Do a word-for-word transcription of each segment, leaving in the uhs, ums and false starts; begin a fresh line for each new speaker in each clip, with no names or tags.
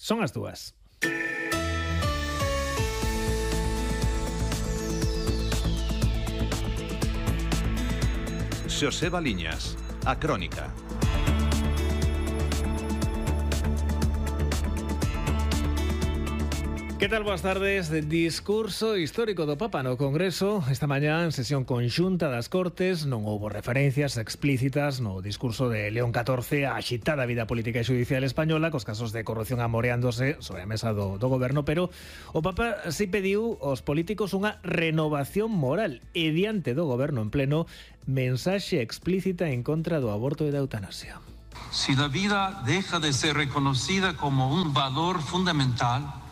Son as dúas.
Xosé Baliñas, a Crónica.
Que tal? Boas tardes. Discurso histórico do Papa no Congreso. Esta mañá, en sesión conxunta das Cortes, non houbo referencias explícitas no discurso de León catorce á axitada vida política e xudicial española, cos casos de corrupción amoreándose sobre a mesa do, do goberno, pero o Papa si pediu aos políticos unha renovación moral e diante do goberno en pleno, mensaxe explícita en contra do aborto e da eutanasia.
Si la vida deja de ser reconocida como un valor fundamental,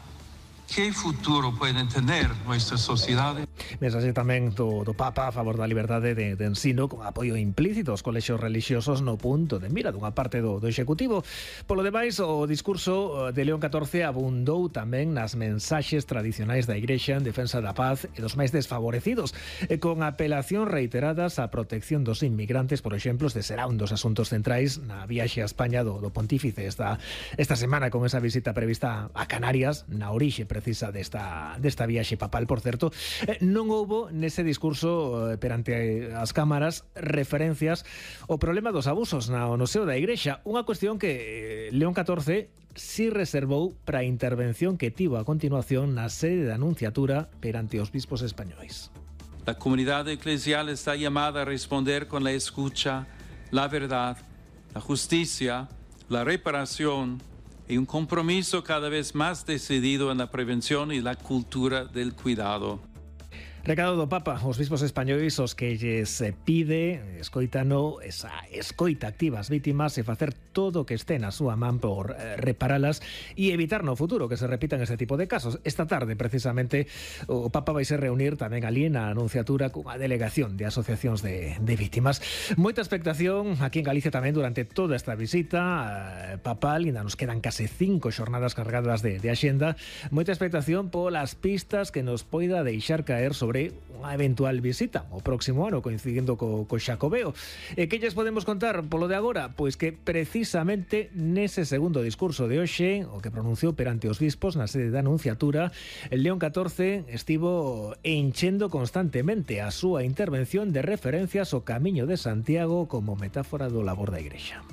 ¿qué futuro pueden tener nuestras sociedades?
Mensaxe tamén do, do Papa a favor da liberdade de, de ensino, con apoio implícito aos colexios relixiosos no punto de mira dunha parte do, do Executivo. Polo demais, o discurso de León catorce abundou tamén nas mensaxes tradicionais da Igrexa en defensa da paz e dos máis desfavorecidos, e con apelacións reiteradas á protección dos inmigrantes, por exemplo, este será un dos asuntos centrais na viaxe a España do, do Pontífice esta, esta semana, con esa visita prevista a Canarias, na orixe precisa desta, desta viaxe papal, por certo. Eh, non houbo nese discurso eh, perante as cámaras referencias ao problema dos abusos na, no seo da Igrexa, unha cuestión que eh, León catorce si reservou para a intervención que tivo a continuación na sede da Anunciatura perante os bispos españois.
La comunidad eclesial está llamada a responder con la escucha, la verdad, la justicia, la reparación y un compromiso cada vez más decidido en la prevención y la cultura del cuidado.
Recado do Papa aos bispos españois os que lles pide escoitano esa escoita activa ás vítimas e facer todo o que este na súa man por eh, reparalas e evitar no futuro que se repitan este tipo de casos. Esta tarde, precisamente, o Papa vai se reunir tamén ali na Anunciatura cunha delegación de asociacións de, de vítimas. Moita expectación aquí en Galicia tamén durante toda esta visita eh, papal, ainda nos quedan case cinco xornadas cargadas de, de axenda. Moita expectación polas pistas que nos poida deixar caer sobre unha eventual visita o próximo ano, coincidindo co, co Xacobeo. E que lles podemos contar polo de agora? Pois que precisamente nese segundo discurso de hoxe, o que pronunciou perante os bispos na sede da Anunciatura, el León catorce estivo enchendo constantemente a súa intervención de referencias ao Camiño de Santiago como metáfora do labor da Igrexa.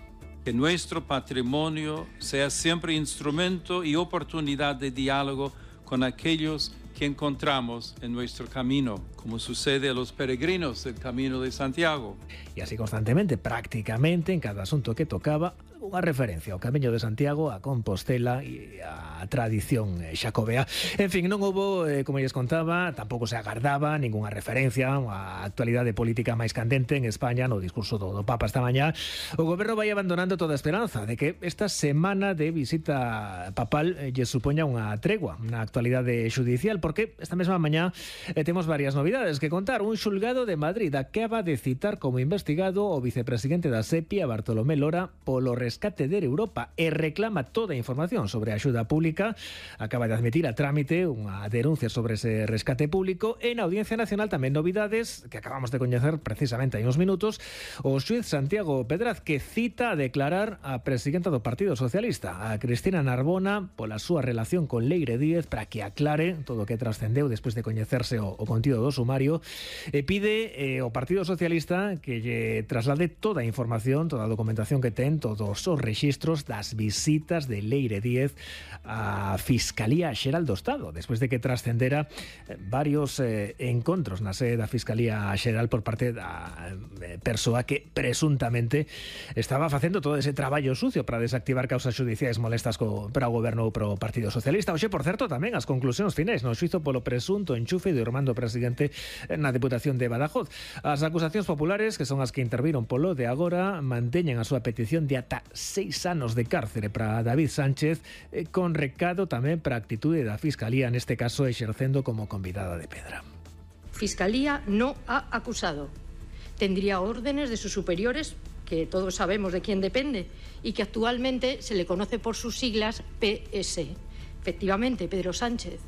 Que nuestro patrimonio sea siempre instrumento y oportunidad de diálogo con aquellos que encontramos en nuestro camino, como sucede a los peregrinos del Camino de Santiago.
Y así constantemente, prácticamente en cada asunto que tocaba, unha referencia ao Camiño de Santiago, a Compostela e a tradición xacobea. En fin, non houbo, eh, como lles contaba, tampouco se agardaba ningunha referencia á actualidade política máis candente en España no discurso do, do Papa esta mañá. O goberno vai abandonando toda a esperanza de que esta semana de visita papal eh, lle supoña unha tregua na actualidade xudicial, porque esta mesma mañá eh, temos varias novidades que contar. Un xulgado de Madrid acaba de citar como investigado o vicepresidente da SEPI, a Bartolomé Lora, polo rescate de Europa e reclama toda a información sobre a axuda pública. Acaba de admitir a trámite unha denuncia sobre ese rescate público. En Audiencia Nacional tamén novidades que acabamos de coñecer precisamente hai uns minutos. O xuíz Santiago Pedraz, que cita a declarar a presidenta do Partido Socialista, a Cristina Narbona, pola súa relación con Leire Díez, para que aclare todo o que trascendeu despois de coñecerse o, o contido do sumario, e pide eh, ao Partido Socialista que lle traslade toda a información, toda a documentación que ten, todos os rexistros das visitas de Leire Díez á Fiscalía Xeral do Estado, despois de que trascendera varios eh, encontros na sede da Fiscalía Xeral por parte da eh, persoa que presuntamente estaba facendo todo ese traballo sucio para desactivar causas xudiciais molestas co, para o goberno ou para o Partido Socialista. Oxe, por certo, tamén as conclusións finais no xuizo polo presunto enchufe de Armando Presidente na Deputación de Badajoz. As acusacións populares, que son as que interviron polo de agora, manteñen a súa petición de ata seis anos de cárcere para David Sánchez, eh, con recado tamén para a actitude da Fiscalía, neste caso exercendo como convidada de pedra.
Fiscalía no ha acusado. Tendría órdenes de sus superiores, que todos sabemos de quién depende, y que actualmente se le conoce por sus siglas P S. Efectivamente, Pedro Sánchez.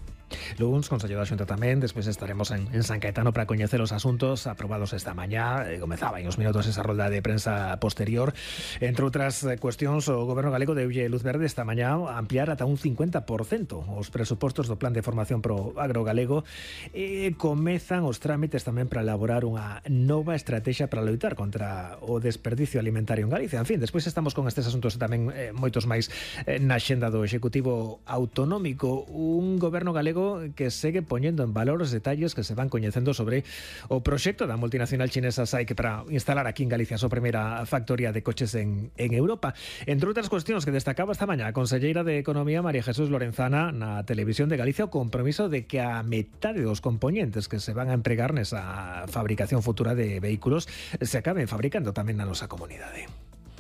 luns, Consello da Xunta tamén, despois estaremos en, en San Caetano para coñecer os asuntos aprobados esta mañá. Eh, comezaba en os minutos esa rolda de prensa posterior. Entre outras cuestións, o Goberno galego deulle luz verde esta mañá a ampliar ata un cincuenta por cento os presupostos do Plan de Formación pro Agro Galego e comezan os trámites tamén para elaborar unha nova estrategia para loitar contra o desperdicio alimentario en Galicia. En fin, despois estamos con estes asuntos tamén eh, moitos máis eh, na xenda do Executivo Autonómico, un goberno galego que segue poñendo en valor os detalles que se van coñecendo sobre o proxecto da multinacional chinesa SAIC para instalar aquí en Galicia a súa primeira factoría de coches en, en Europa. Entre outras cuestións que destacaba esta mañá a conselleira de Economía María Jesús Lorenzana na Televisión de Galicia, o compromiso de que a metade dos componentes que se van a empregar nesa fabricación futura de vehículos se acaben fabricando tamén na nosa comunidade.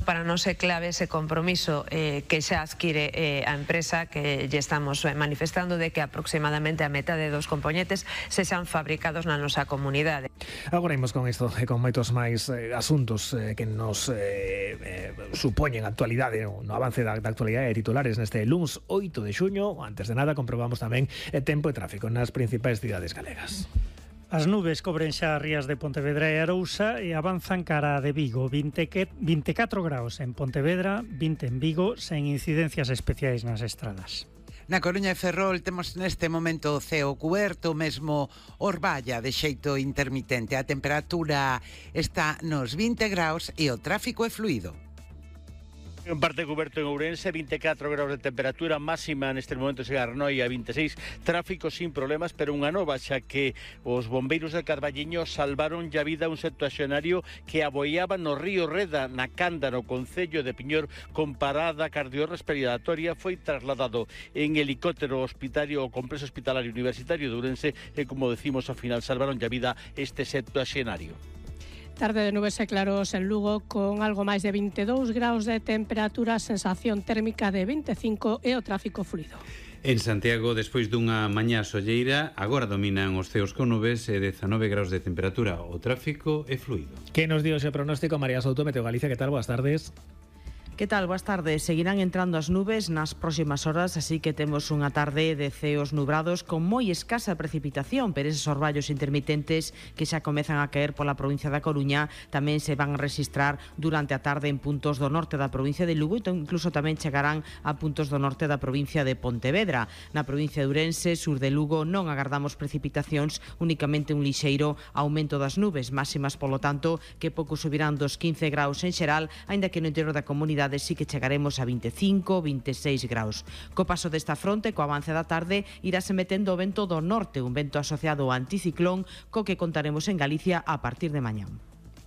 Para nós é clave ese compromiso eh, que xa adquire eh, a empresa, que lle estamos manifestando de que aproximadamente a metade dos componentes se xan fabricados na nosa comunidade.
Agora imos con isto e con moitos máis eh, asuntos eh, que nos eh, eh, supoñen actualidade no, no avance da, da actualidade de titulares neste luns oito de xuño. Antes de nada comprobamos tamén o tempo e tráfico nas principais cidades galegas.
As nubes cobren xa as rías de Pontevedra e Arousa e avanzan cara de Vigo. vinte e catro graus en Pontevedra, vinte en Vigo, sen incidencias especiais nas estradas.
Na Coruña e Ferrol temos neste momento o ceo cuberto, mesmo Orballa de xeito intermitente. A temperatura está nos vinte graus e o tráfico é fluido.
En parte cuberto en Ourense, vinte e catro graus de temperatura máxima neste momento se Arnoi a vinte e seis, tráfico sin problemas, pero unha nova, xa que os bombeiros de Carballiño salvaron a vida a un septuaxenario que aboiaba no río Reda, na Canda, no concello de Piñor, con parada cardiorrespiratoria. Foi trasladado en helicóptero hospitalario ao complexo hospitalario universitario de Ourense e, como decimos, ao final salvaron a vida este septuaxenario.
Tarde de nubes e claros en Lugo, con algo máis de vinte e dous graus de temperatura, sensación térmica de vinte e cinco e o tráfico fluido.
En Santiago, despois dunha mañá solleira, agora dominan os ceos con nubes e dezanove graus de temperatura. O tráfico é fluido.
Que nos dio ese pronóstico María Souto, Meteo Galicia? Que tal? Boas tardes.
Que tal? Boas tardes. Seguirán entrando as nubes nas próximas horas, así que temos unha tarde de ceos nubrados con moi escasa precipitación, pero eses orballos intermitentes que xa comezan a caer pola provincia da Coruña tamén se van a registrar durante a tarde en puntos do norte da provincia de Lugo e incluso tamén chegarán a puntos do norte da provincia de Pontevedra. Na provincia de Ourense, sur de Lugo, non agardamos precipitacións, únicamente un lixeiro aumento das nubes, máximas, polo tanto, que pouco subirán dos quince graus en xeral, aínda que no interior da comunidade sí que chegaremos a vinte e cinco, vinte e seis graus. Co paso desta fronte, co avance da tarde, irase metendo o vento do norte, un vento asociado ao anticiclón, co que contaremos en Galicia a partir de mañá.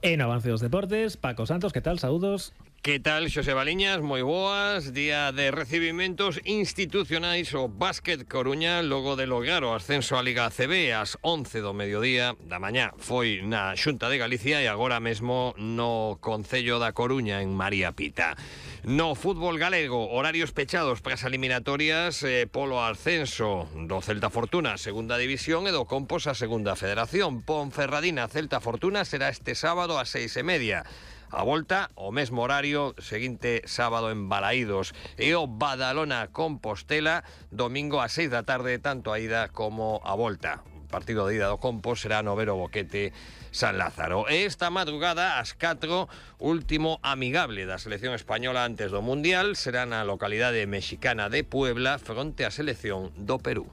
En avance dos deportes, Paco Santos, que tal? Saúdos.
Que tal, Xosé Baliñas? Moi boas. Día de recibimentos institucionais o Básquet Coruña logo de lograr o ascenso á Liga A C B ás once do mediodía da mañá. Foi na Xunta de Galicia e agora mesmo no Concello da Coruña, en María Pita. No fútbol galego, horarios pechados para as eliminatorias eh, polo ascenso do Celta Fortuna, segunda división, e do Compos a segunda federación. Ponferradina Celta Fortuna será este sábado ás seis e media. A volta, o mesmo horario, seguinte sábado en Balaídos. E o Badalona Compostela, domingo ás seis da tarde, tanto a ida como a volta. O partido de ida do Compos será no Vero Boquete San Lázaro. E esta madrugada, ás catro, último amigable da selección española antes do Mundial, será na localidade mexicana de Puebla, fronte á selección do Perú.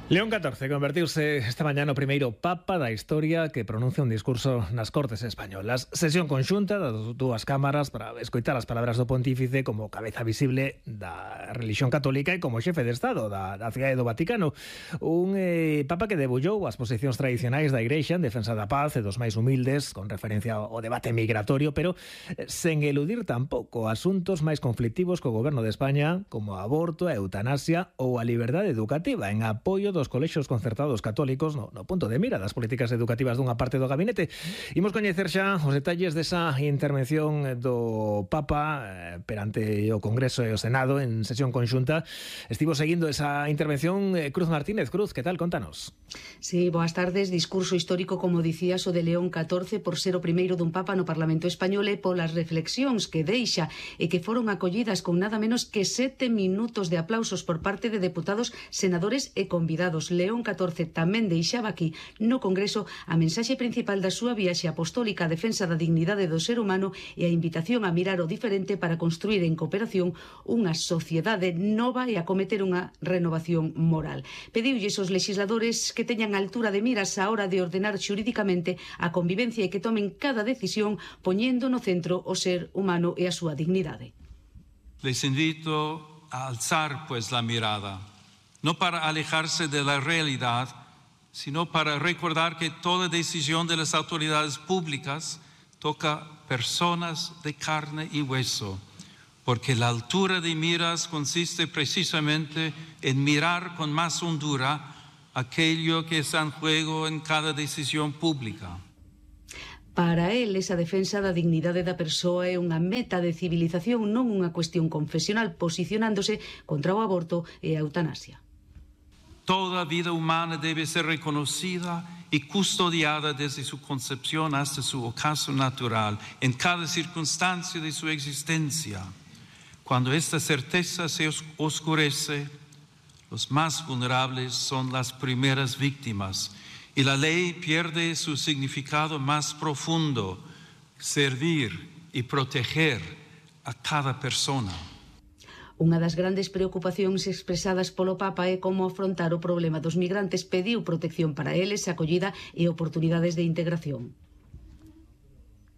León catorce convertiuse esta mañá no primeiro papa da historia que pronuncia un discurso nas Cortes Españolas. Sesión conxunta das dúas cámaras para escoitar as palabras do pontífice como cabeza visible da religión católica e como xefe de Estado da, da cidade do Vaticano. Un eh, papa que debullou as posicións tradicionais da Igrexa en defensa da paz e dos máis humildes, con referencia ao debate migratorio, pero sen eludir tampouco asuntos máis conflictivos co goberno de España, como o aborto, a eutanasia ou a liberdade educativa, en apoio dos colexios concertados católicos no, no punto de mira das políticas educativas dunha parte do gabinete. Imos coñecer xa os detalles desa intervención do Papa eh, perante o Congreso e o Senado en sesión conxunta. Estivo seguindo esa intervención eh, Cruz Martínez. Cruz, que tal? Contanos.
Sí, boas tardes. Discurso histórico, como dicías, o de León catorce por ser o primeiro dun Papa no Parlamento Español e polas reflexións que deixa e que foron acollidas con nada menos que sete minutos de aplausos por parte de deputados, senadores e convidados. León catorce tamén deixaba aquí no Congreso a mensaxe principal da súa viaxe apostólica, a defensa da dignidade do ser humano e a invitación a mirar o diferente para construir en cooperación unha sociedade nova e a cometer unha renovación moral. Pediulles aos legisladores que teñan altura de miras á hora de ordenar xurídicamente a convivencia e que tomen cada decisión poñendo no centro o ser humano e a súa dignidade.
Les invito a alzar pues la mirada, no para alejarse de la realidad, sino para recordar que toda decisión de las autoridades públicas toca personas de carne y hueso, porque la altura de miras consiste precisamente en mirar con más hondura aquello que está en juego en cada decisión pública.
Para él, esa defensa da dignidade da persoa é unha meta de civilización, non unha cuestión confesional, posicionándose contra o aborto e a eutanasia.
Toda vida humana debe ser reconocida y custodiada desde su concepción hasta su ocaso natural, en cada circunstancia de su existencia. Cuando esta certeza se oscurece, los más vulnerables son las primeras víctimas y la ley pierde su significado más profundo, servir y proteger a cada persona.
Unha das grandes preocupacións expresadas polo Papa é como afrontar o problema dos migrantes. Pediu protección para eles, acollida e oportunidades de integración.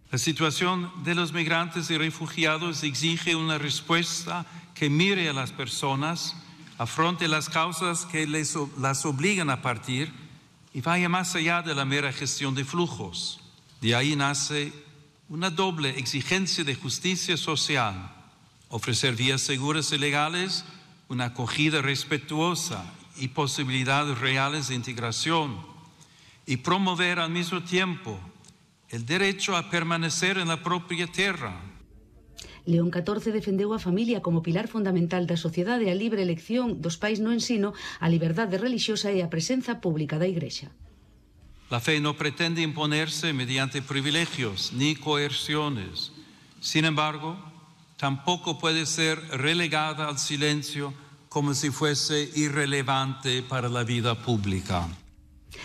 La situación de los migrantes y refugiados exige una respuesta que mire a las personas, afronte las causas que les, las obligan a partir y vaya más allá de la mera gestión de flujos. De ahí nace una doble exigencia de justicia social: ofrecer vías seguras y legales, una acogida respetuosa y posibilidades reales de integración, y promover al mismo tiempo el derecho a permanecer en la propia tierra.
León catorce defendeu a familia como pilar fundamental da sociedade, a libre elección dos pais no ensino, a liberdade relixiosa e a presenza pública da Igrexa.
La fe no pretende imponerse mediante privilegios ni coerciones. Sin embargo, tampoco puede ser relegada al silencio como si fuese irrelevante para la vida pública.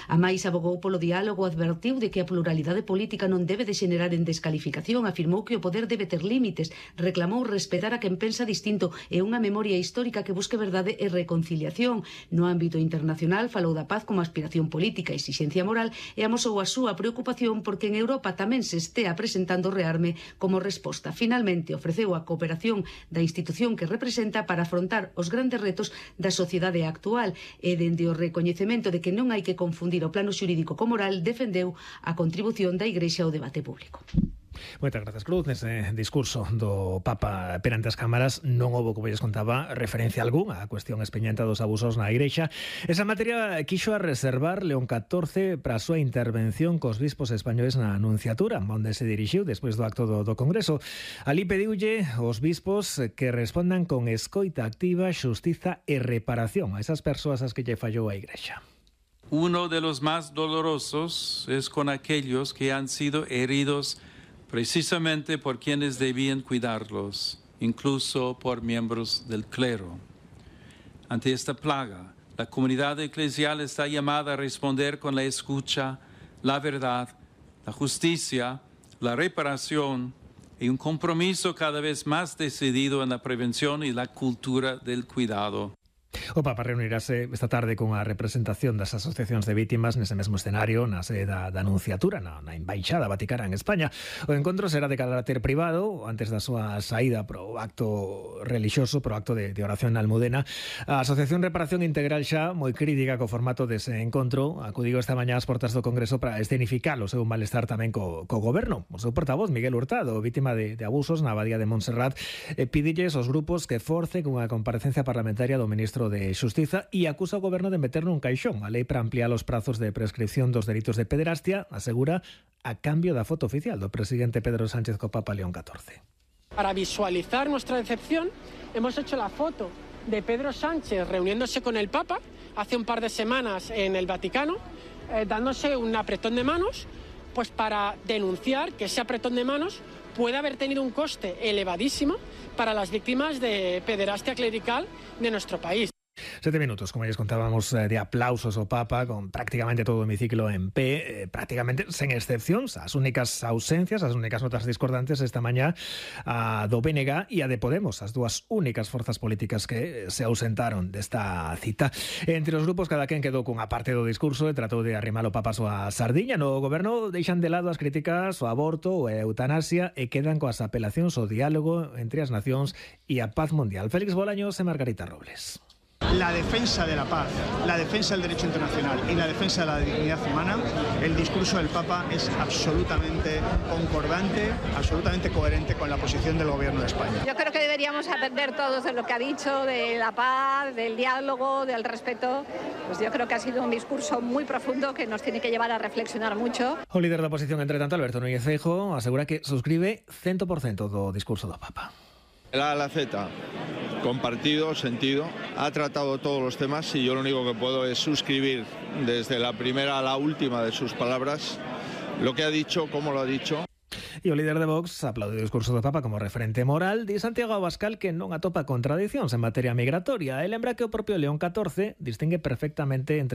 A máis abogou polo diálogo, advertiu de que a pluralidade política non debe degenerar en descalificación, afirmou que o poder debe ter límites, reclamou respetar a quen pensa distinto e unha memoria histórica que busque verdade e reconciliación. No ámbito internacional falou da paz como aspiración política e exixencia moral e amosou a súa preocupación porque en Europa tamén se estea presentando o rearme como resposta. Finalmente ofreceu a cooperación da institución que representa para afrontar os grandes retos da sociedade actual e dende o recoñecemento de que non hai que confundir o plano xurídico co moral, defendeu a contribución da Igrexa ao debate público.
Moitas grazas, Cruz. Nese discurso do Papa perante as cámaras non houbo, como lles contaba, referencia algunha á cuestión espeñenta dos abusos na Igrexa. Esa materia quixo a reservar León catorce para a súa intervención cos bispos españoles na Anunciatura, onde se dirixiu despois do acto do, do Congreso. Alí pediulle aos bispos que respondan con escoita activa, xustiza e reparación a esas persoas as que lle fallou a Igrexa.
Uno de los más dolorosos es con aquellos que han sido heridos precisamente por quienes debían cuidarlos, incluso por miembros del clero. Ante esta plaga, la comunidad eclesial está llamada a responder con la escucha, la verdad, la justicia, la reparación y un compromiso cada vez más decidido en la prevención y la cultura del cuidado.
O Papa reunirase esta tarde con a representación das asociacións de vítimas nese mesmo escenario na sede da, da Anunciatura, na, na Embaixada Vaticana en España. O encontro será de carácter privado antes da súa saída pro acto relixioso, pro acto de, de oración na Almudena. A Asociación Reparación Integral xa moi crítica co formato dese encontro acudiu esta mañá ás portas do Congreso para escenificar o seu malestar tamén co, co goberno. O seu portavoz, Miguel Hurtado, vítima de, de abusos na Abadía de Montserrat, eh, pidilles aos grupos que forcen unha comparecencia parlamentaria do ministro ministro de Xustiza e acusa o goberno de meter nun caixón a lei para ampliar os prazos de prescripción dos delitos de pederastia, asegura, a cambio da foto oficial do presidente Pedro Sánchez co Papa León catorce.
Para visualizar nuestra decepción, hemos hecho la foto de Pedro Sánchez reuniéndose con el Papa hace un par de semanas en el Vaticano, eh, dándose un apretón de manos, pues para denunciar que ese apretón de manos puede haber tenido un coste elevadísimo para las víctimas de pederastia clerical de nuestro país.
Sete minutos, como les contábamos, de aplausos ao Papa, con prácticamente todo o hemiciclo en pé, eh, prácticamente sen excepcións. As únicas ausencias, as únicas notas discordantes esta mañá, a do B N G e a de Podemos, as dúas únicas forzas políticas que se ausentaron desta cita. Entre os grupos, cada quen quedou cunha parte do discurso e tratou de arrimar o Papa a súa sardiña. No goberno deixan de lado as críticas ao aborto ou a eutanasia e quedan coas apelacións ao diálogo entre as nacións e a paz mundial. Félix Bolaños e Margarita Robles.
La defensa de la paz, la defensa del derecho internacional y la defensa de la dignidad humana, el discurso del Papa es absolutamente concordante, absolutamente coherente con la posición del Gobierno de España.
Yo creo que deberíamos aprender todos de lo que ha dicho, de la paz, del diálogo, del respeto. Pues yo creo que ha sido un discurso muy profundo que nos tiene que llevar a reflexionar mucho.
O líder da oposición, entre tanto, Alberto Núñez Feijóo, asegura que suscribe cento por cento do discurso do Papa.
La A la Z, compartido, sentido, ha tratado todos los temas y yo lo único que puedo es suscribir desde la primera a la última de sus palabras lo que ha dicho, cómo lo ha dicho.
E o líder de Vox aplaude o discurso do Papa como referente moral. Di Santiago Abascal que non atopa contradicións en materia migratoria. E lembra que o propio León catorce distingue perfectamente entre